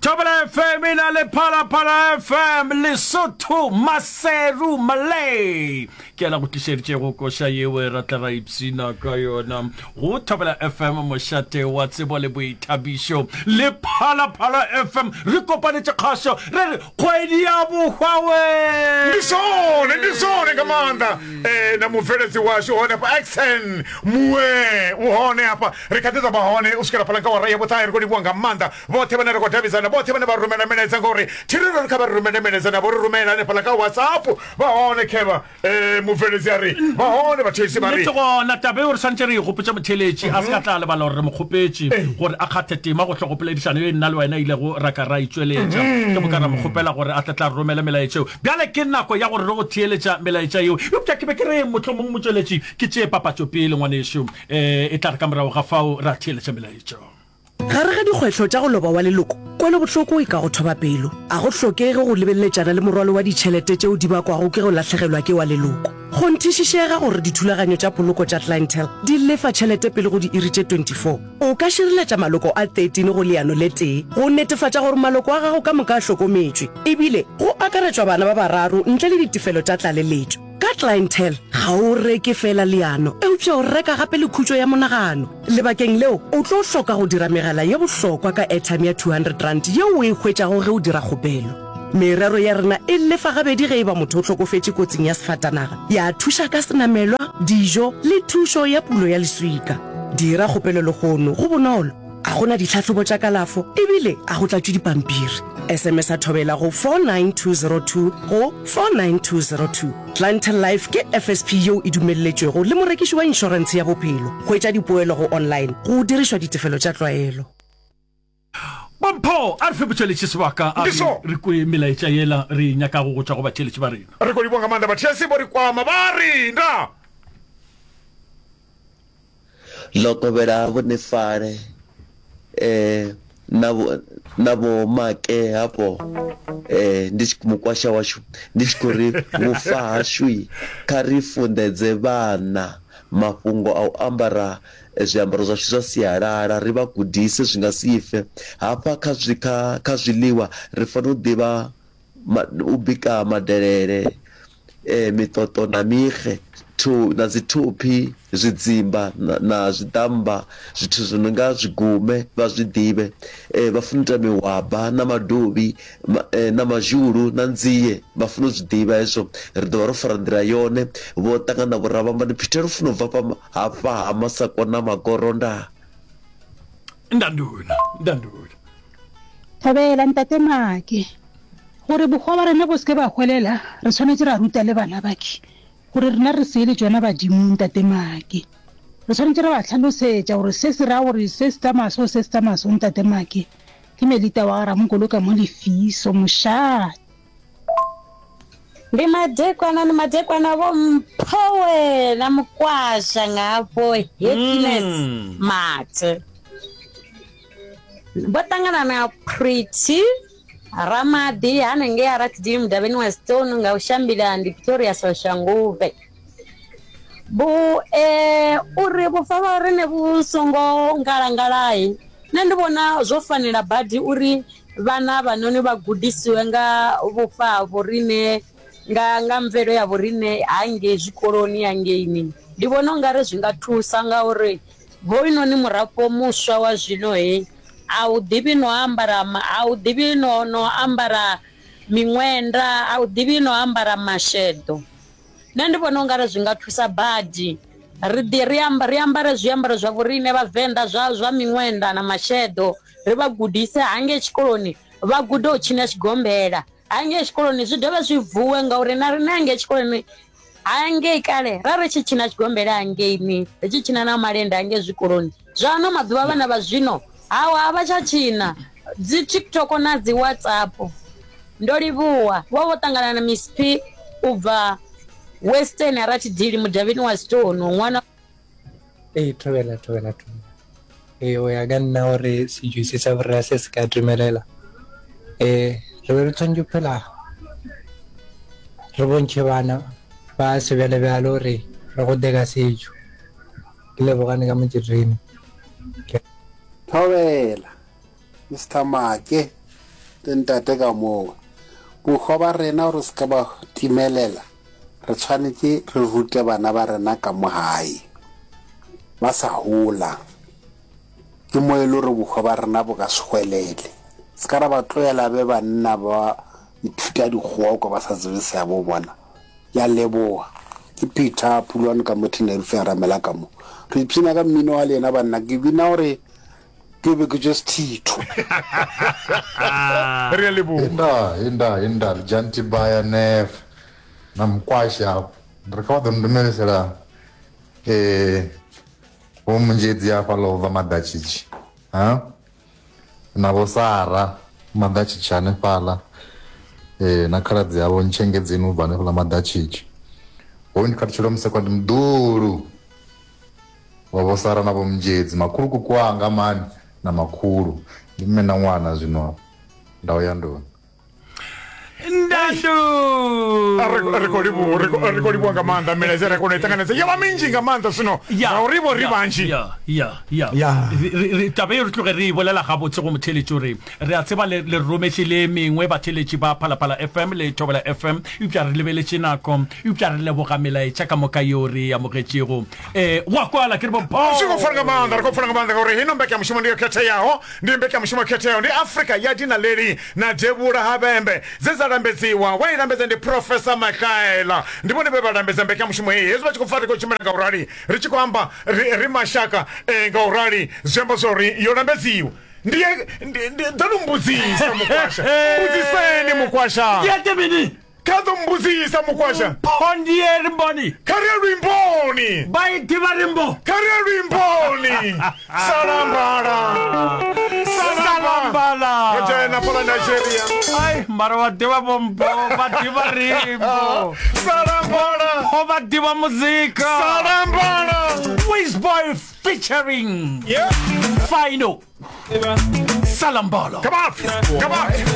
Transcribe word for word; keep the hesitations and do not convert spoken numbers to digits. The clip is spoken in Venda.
Thobela F M e na le Phalaphala F M, Lesotho, Maseru, Malay. Ke ela go tlišeditšego koša yeo ra tla ra ipshina ka yona go Thobela F M, mošate wa tsebo le boithabišo, le Phalaphala F M. Re kopanetše kgašo, re re kgwedi ya bohwa we. Ndi zwone, ndi zwone nga maanḓa. eh, na mubveledzi washu hone hafha Xen Mue u hone hafha, ri kha ḓi ḓo vha hone u swikela fhaḽa nga awara ya vhuṱahe. Ri khou livhuwa nga maanḓa vhoṱhe vhane ra khou davhidzana, vhoṱhe vhane vha rumela milaedza, ngori thiriro ri kha vha ri rumele milaedza navho ri rumela hanefhaḽa kha WhatsApp. Vha hone khevha, eh, mubveledzi a ri vha hone vhathetshelesi vha ri Nnete gona taba eo re swanetše re e gopotše motheeletši a se ka tla lebala gore re mo kgopetše gore a kgathe tema go hlogopoledišano ye nna le wena ilego ra ka ra e tšweletša. Ke moka ra mo kgopela gore a tle tla re romele melaetša eo. Bjale ke nako ya gore re go theeletša melaetša yeo. Eupša ke be ke re mohlomong motšweletši ke tšee papatšo pele, ngwanešo, um e tla re ka morago ga fao ra theeletša melaetša. Gare ga dikgwetlho tša go loba wa leloko, kwelobohloko e ka go thoba pelo. A go hlokege go lebeleletšana le morwalo wa ditšhelete tšeo di bakwago ke go lahlegelwa ke wa leloko. Kgonthišišega gore dithulaganyo tša poloko tša Clientele di lefa tšhelete pele go diiri tše twenty-four. O ka šireletša maloko a thirteen go leano le tee go netefatša gore maloko a gago ka moka a hlokometšwe, ebile go akaretšwa bana ba bararo ntle le ditefelo tša tlaleletšo. Ka Clientele, ga o reke feela leano, eupša o reka gape le khutšo ya monagano. Lebakeng leo, o tlo hloka go dira megala ye bohlokwa ka airtime ya two hundred rand yeo o e hwetšago ge o dira kgopelo. Merero ya rena e lefa gabedi ge e ba motho o hlokofetše kotsing ya sefatanaga, ya thuša ka senamelwa, dijo le thušo ya pulo ya leswika. Dira kgopelo lehono, go bonolo. A gona ditlhahlobo tša kalafo ebile a go tlatšwe dipampiri. S M S a Thobela go four nine two zero two go four nine two zero two. Clientele Life ke F S P yeo e dumelletšwego le morekiši wa inšorentshe ya bophelo. Hwetša dipoelo go online go dirišwa ditefelo tša tlwaelo. Bompho, a re fe botšweletši sebaka a re Ndiso. re kwe melaetša yela re e nyakago go tšwa go batheeletši ba rena. Re khou livhuwa nga maanḓa vhathetshelesi vho ri kwama vha ri nda. Ḽo kovhela Vho Nefale eh na vho na vho Make hafho eh ndi tshi mukwasha washu ndi tshi khou ri vhufa hashu kha ri funḓedze vhana mafhungo a u ambara zwiambaro zwashu zwa sialala, ri vha gudise zwi nga si fe hafha kha zwi kha kha zwiḽiwa. Ri fanela u ḓivha u bika madelele, eh miṱoṱo na mixe thu na dzi thophi, zwidzimba na, na zwiḓamba, zwithu zwi no nga zwigume vha zwi ḓivhe. eh, vha funa u ita mihwaba na madovhi ma, eh, na mazhulu na nzie, vha funa u zwi ḓivha hezwo. Ri ḓo vha ro fara nḓila yone. Vho ṱangana vho Ravhambani Peter Lufuno bva fha hafha ha Masakona Magoro nda. Ndandula, ndandula. Thobela ntate Make. Gore bohwa ba rena bo seke ba hwelela, re tshwanetse ra ruta le bana bake gore rena re seele tsona badimong. Ntate Make, re tshwanetse re ba tlhalosetša gore se se raya gore se se tsamaya so, se se tsamaya so. Ntate Make, ke Melita wa Ramokolo ka mo Lefiso mošate. Ndi madekwana, ndi madekwana vho Mphowe na mukwasha nga hafho Happiness Mm. Mathe vho ṱangana na Pretty Ramadi hanengei a Ratidini mudavhini wa Stone nga u shambila ndi Pretoria Soshanguve. Bu eh uri vhufa vha rine vhu songo ngalangalai, nṋe ndi vhona zwo fanela badi uri vhana vhanoni vha gudisiwe nga vhufa ha vhorine, nga nga mvelo ya vhorine hangei zwikoloni hangeini. Ndi vhona ungari zwi nga thusa ngauri hoyunoni murafho muswa wa zwino he a u ḓivhi no ambara, a u ḓivhi no no ambara miṅwenda, a u ḓivhi no ambara masheḓo. Nṋe ndi vhona ungari zwi nga thusa badi ri ḓi ri amba ri ambare zwiambaro zwa vhorine vhavenḓa zwa zwa miṅwenda na masheḓo, ri vha gudise hangei tshikoloni, vha gude u tshina tshigombela hangei tshikoloni, zwi dovhe zwi vuwe ngauri na riṋe hangei tshikoloni hangei kale ra ri tshi tshina tshigombela hangeini, ri tshi tshina na malende hangei zwikoloni. Zwa ano maḓuvha vhana vha zwino hawa a vha tsha tshina dzi TikTok na dzi WhatsApp. Ndo livhuwa vho vho ṱangana na Miss P u bva Western Ratidili mudavhini wa Stone ṅwana. Ee, thobela, thobela, thobela. Ee, go ya ka nna gore setšo se sa borra se se ka dumelela, um re be re tshwanetse phela re bontšhe bana ba sebjalebjale gore re gode ka setšo. Ke lebogane ka motšerene. Thobela Mister Make. Le ntate ka moo. Bohwa ba rena gore se ka ba timelela, re tshwanetse re rute bana ba rena ka mo gae ba sa hola. Ke mo e le gore bohwa ba rena bo ka se hwelele. Se ka ra ba tlohela be banna ba ithuta dikgowa kwa ba sa tsebe seabo bona. Ke a leboga. Ke Peter Pulwane ka mo Tenerife a ramela ka mo. Re ipshina ka mmino wa lena banna, ke bina gore ke be ke just thitho. Re a leboga. Inda, inda, inda, Janti Baya Nef, na Mkwasha, re kha vha ḓo ndumelisela eh vho Munzhedzi hafhaḽa u bva Maḓatshitshi, ha? Na vho Sara Maḓatshitshi hanefhaḽa, eh na khaladzi yavho Ntshengedzeni u bva hanefhaḽa Maḓatshitshi. Hoyu ndi Khathutshelo Musekwa, ndi muḓulu wa vho Sara na vho Munzhedzi, makhulukuku wanga mani na makhulu, ndi mme na ṅwana zwino hafha ndau ya ndoni. Ndandu. Ri khou livhuwa, ri khou- ri khou livhuwa nga maanḓa milaedza ri kona u i ṱanganedza yo vha minzhi nga maanḓa zwino ngauri vho ri vhanzhi. Ya, ya, ya. Ya. Re- re- re- taba eo re tloge re e bolela gabotse go motheletši gore re a tseba le le rometše le mengwe batheletši ba Phalaphala F M le Thobela F M, eupša re lebeletše nako, eupša re leboga melaetša ka moka yeo re e amogetšego. Eh, go a kwala ke re bo Zwi khou pfala nga maanḓa, ri khou pfala nga maanḓa ngauri hino mbekanyamushumo ndi yo khetheaho, ndi mbekanyamushumo yo khetheaho, ndi Afrika ya dinaleli na devhula ha vhembe dze dza lambedziwa. Wa i lambedza ndi Professor Mahlaela, ndi vhone vhe vha lambedza mbekanyamushumo heyi. Hezwi vha tshi khou pfa ri khou tshimbila nga u rali, ri tshi khou amba ri, ri mashaka eh, nga u rali, zwi amba zwa uri yo lambedziwa. Ndi ndi ndi ḓo no mbudzisa mukwasha, mbudziseni mukwasha. Ndi ete mini? Kha ḓo mbudzisa mukwasha. Mpho ndiye rimboni. Kha ri ye luimboni. Ba i ḓivha rimbo. Kha ri ye luimboni. Salambala. Salambala. Ro dzhena fhaḽa Nigeria. Ai, mara wa ḓivha vho Mpho, vha ḓivha rimbo. Salambala. Mpho vha ḓivha muzika. Salambala. Wizboy featuring Yeah. Final. Salambala. Come on. Come on.